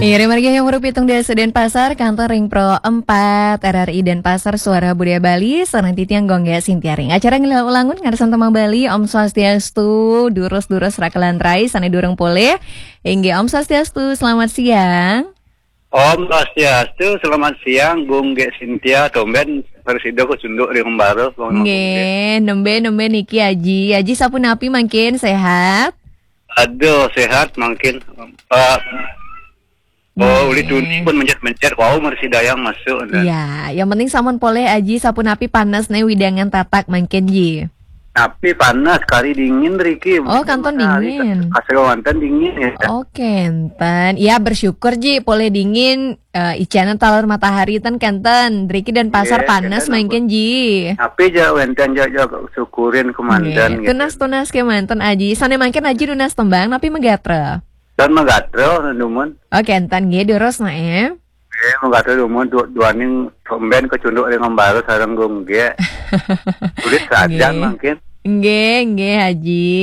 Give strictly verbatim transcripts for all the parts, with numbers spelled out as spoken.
Iri margi yang merupi tung desa Denpasar, kantor ring Pro empat R R I Denpasar, Suara Budaya Bali, sareng titiang Gung Gé Sintiaring. Acara Ngilu Ulangun, ngarsan tembang Bali, Om Swastiastu, durus-durus rakelan rai, sané durung polih. Inggih, Om Swastiastu, selamat siang. Om Swastiastu, selamat siang, Gung Gé Sintia, tumben, prasida kacunduk ring embara, Gung Gé. Nggih, nembé, nembé niki Aji. Aji sapunapi mangkin, sehat? Aduh, sehat mangkin. Pak, oh, uli tuni pun mencet-mencet, wau mrsidayang masuk, nah. Iya, yang penting sampun polih Aji, sapunapi panas né widangan tatak mangkin, Ji. Tapi panas, kari dingin, riki. Oh, kantun matahari dingin. Kasih wonten dingin, ya. Oh, kenten. Ya, bersyukur, Ji, polih dingin, eh, icanan taler matahari ten kenten. Riki Denpasar panas mangkin, Ji. Tapi ja wénten ja, ja syukurin kemanten, gitu. Tunas-tunas kemanten, Aji. Sané mangkin Aji nunas tembang, napi magatra? Dan magatra, dumun. Oh, kenten, nggih, durus, nah, eh. Nggih, magatra dumun, du-, duaning tumben kacunduk ring embara sareng Gung Gé. Sulit sajan mangkin. Nggih, nggih, Aji.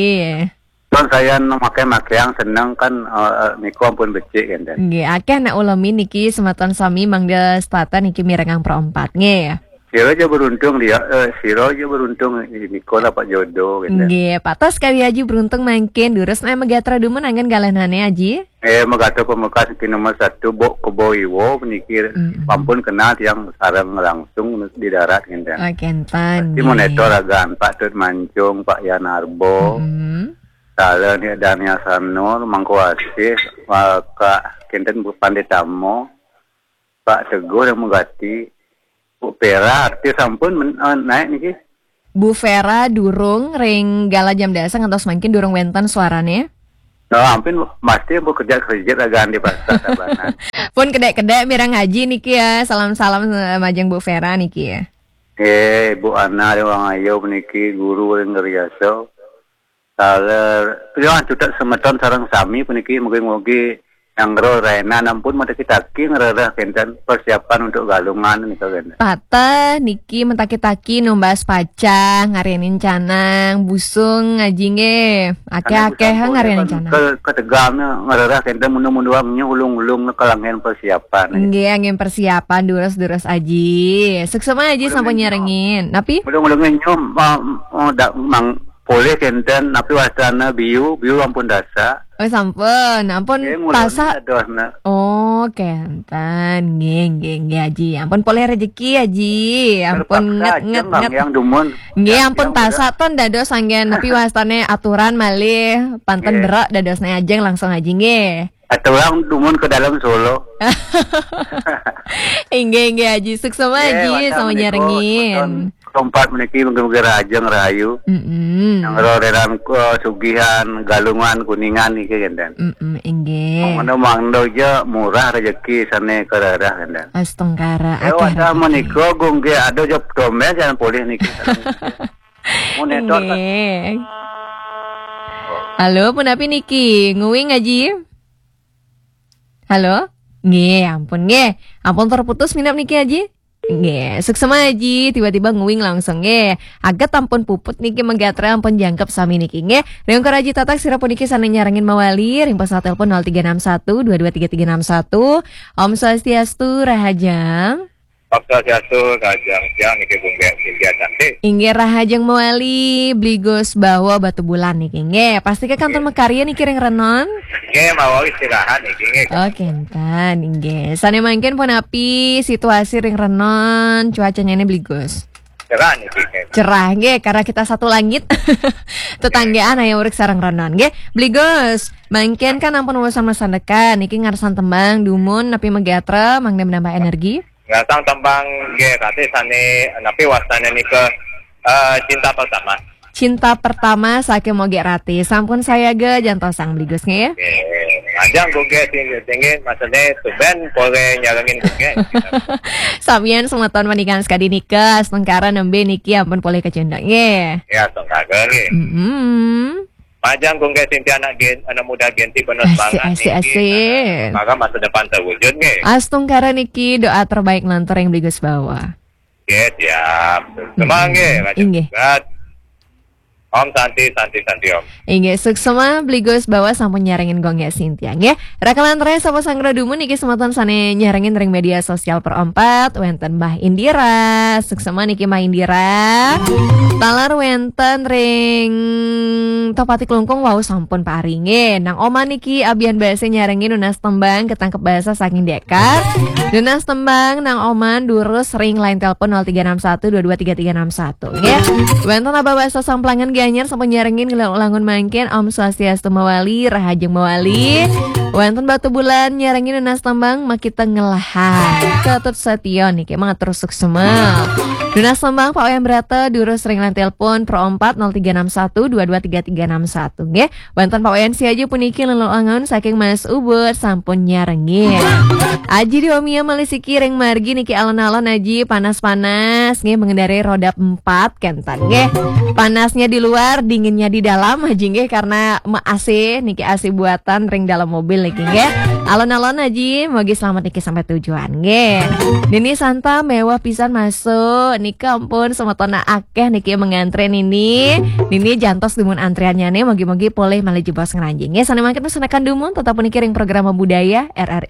Kan saya maké-makéang seneng kan, eh, eh, niku ampun becik, kenten. Nggih, akéh nak ulemin niki semeton sami mangda setata niki mirengang Pro empat, nggih. Sira ja beruntung dia, eh, sira ja beruntung, niku lah Pak jodoh, kenten. Nggih, patos kari Aji beruntung mangkin, durus nah magatra dumun anggén galahné Aji. Eh, magatra pamekas niki nomor satu, Bok Kebo Iwo, puniki ampun kenal tiang sareng langsung di darat, kenten. Oh, kenten, nggih. Pasti monitor agan Pak Tut Mancung, Pak Yan Arbo. Mm-mm. Salah ni Daniel Sanur, Mangku Asih, Kak kenten Bu Panditamo, Pak Teguh yang mengganti, Bu Vera, artis sampun men-, eh, naik niki. Bu Vera durung ring galah jam dasa ngantos mangkin durung wénten suarané. Nah, ampun, mesti Bu kerja kerja agan di pasar Tabanan. Pun kedék-kedék mireng Aji niki ya, salam-salam, eh, majeng Bu Vera niki ya. Eh, Bu Ana Dewang Ayu puniki guru ring Ngeriaso. Taler, ya, cutet semeton sareng sami puniki, mugi-mugi nyanggra rainan ampun mataki-taki ngrereh kenten persiapan untuk Galungan nika, kenten. Pateh niki mataki-taki numbas pacang, ngarianin canang, busung Aji nggih. Akéh-akéh ngarianin canang. Ke-, ketegalnya ngrereh kenten mundu-munduang nyu ulung-ulung kalanggen persiapan. Nggih, anggén persiapan durus-durus Aji. Suksma Aji sampun nyarengin. Napi? Ulung-ulungnya nyu, ma-, ma-, da-, mang, polih kenten, napi wastana biu, biu ampun tasak. Oh, sampun, ampun tasak. Nggih, ngulon dadosna. Oh, kenten. Nggih, nggih, nggih, Aji. Ampun polih rejeki, Aji. Ampun terpaksa nget, aja nget, nget. Yang dumun. Nggih, yang ampun tasak ten dados anggén napi wastané aturan malih, panten berak dadosna ajeng langsung Aji nggih. Aturan dumun ke dalam Solo. Inggih, inggih, Aji. Suksma, Aji, sama nyarengin. Tempat meniki mungkin-mungkin rahajeng rahayu. Mm-mm. Yang roreran ke sugihan, Galungan, Kuningan niki kenten. Mm-mm, inggih. Mangda-mangda ja murah rejeki sané karereh kenten. Astungkara, eh, akéh wasa rejeki. Menika Gung Gé ada ja tumben jangan polih niki. Mun netor kan. Inggih. Halo, punapi niki? Nguing, Aji? Halo? Nggih, ampun nggih. Ampun terputus minap niki, Aji? Nggih, suksma Aji, tiba-tiba nguing langsung nggih. Aget ampun puput niki, magatra ampun jangkep sami niki nggih. Ring Ungkur Aji Tatak sira puniki sané nyarengin mawali ring pesawat telepon nol tiga enam satu dua dua tiga tiga enam satu. Om Swastiastu, rahajeng. Om Swastiastu, rahajeng siang niki Gung Gé Sintia Cantik. Inggih, rahajeng mawali Bli Gus Bawa Batubulan niki nggih. Pasti ke kantor makarya niki ring renon. Nggih, mawa istirahat niki nggih. Oh, kenten, inggih. Sané mangkin punapi situasi ring renon, cuacanya ini Bli Gus? Cerah niki nggih. Cerah nggih, karena kita satu langit. Tetanggaan aya urip sareng renon nggih. Bli Gus, mangkin kan ampun urusan masandekan, niki ngarsan tembang dumun napi magatra mangda menambah energi? Ngarsan tembang nggih, kate sané napi wastane nika, eh, Cinta Pertama. Cinta Pertama saking Mogek Rati. Sampun sayaga jantosang Bli Gus nggih. Nggih. Ajeng Gung Gé sing tinggi masane tumben polih nyarengin Gung Gé. Samian semeton maningan sekadi nika, astungkara nembe niki ampun polih kacunduk nggih. Ya, astungkara nggih. Mm-mm. Majeng Gung Gé Sintia anak gen-, anak muda Genti penuh semangat niki. Asik, asik, asik. Maka masa depan terwujud nggih. Astungkara niki doa terbaik nglantur ring Bli Gus Bawa. Nggih, siap. Semangat nggih, Raja Inggih. Tugas. Om Santi, Santi, Santi Om. Inggih, suksma Bli Gus Bawa sampun nyarengin Gong Ya Sintia nggih. Rakalan res sapa sanggra dumun niki semeton sane nyarengin ring media sosial Pro Empat, wenten Mbah Indira. Suksma niki Mbah Indira. Taler wenten ring Tohpati Klungkung wau sampun paringe. Nang Oma niki abian basa nyarengin nunas tembang ketangkep basa saking Dekar. Nunas tembang nang Oma durus ring line telepon nol tiga enam satu dua dua tiga tiga enam satu nggih. Wenten Abah Basa Samplangan Gianyar sampun nyarengin ngelangun mangkin Om Swastiastu mawali, rahajeng mawali. Wenten Batubulan nyarengin nunas tembang makita ngelahan. Ketut Setio niki mangatur suksma. Nunas tembang Pak Wayan Brata durus ring line telepon Pro Empat nol tiga enam satu dua dua tiga tiga enam satu nggih. Wenten Pak Wayan Siaja puniki lelangun saking Mas Ubud sampun nyarengin. Aji Diomia malih siki ring margi niki alon-alon Aji panas-panas nggih mengendarai roda empat kenten nggih. Panasnya di luar, dinginnya di dalam Aji nggih karena me A C niki A C buatan ring dalam mobil niki nggih. Alon-alon Aji, mogi selamat niki sampai tujuan nggih. Nini Santa mewah pisan masuk nika ampun semetona akeh niki mengantre nini. Nini jantos dumun antriannya nih, mogi-mogi polih malih jebos ngranjing nggih. Sane mangkin pesenakan dumun tetap niki ring program budaya R R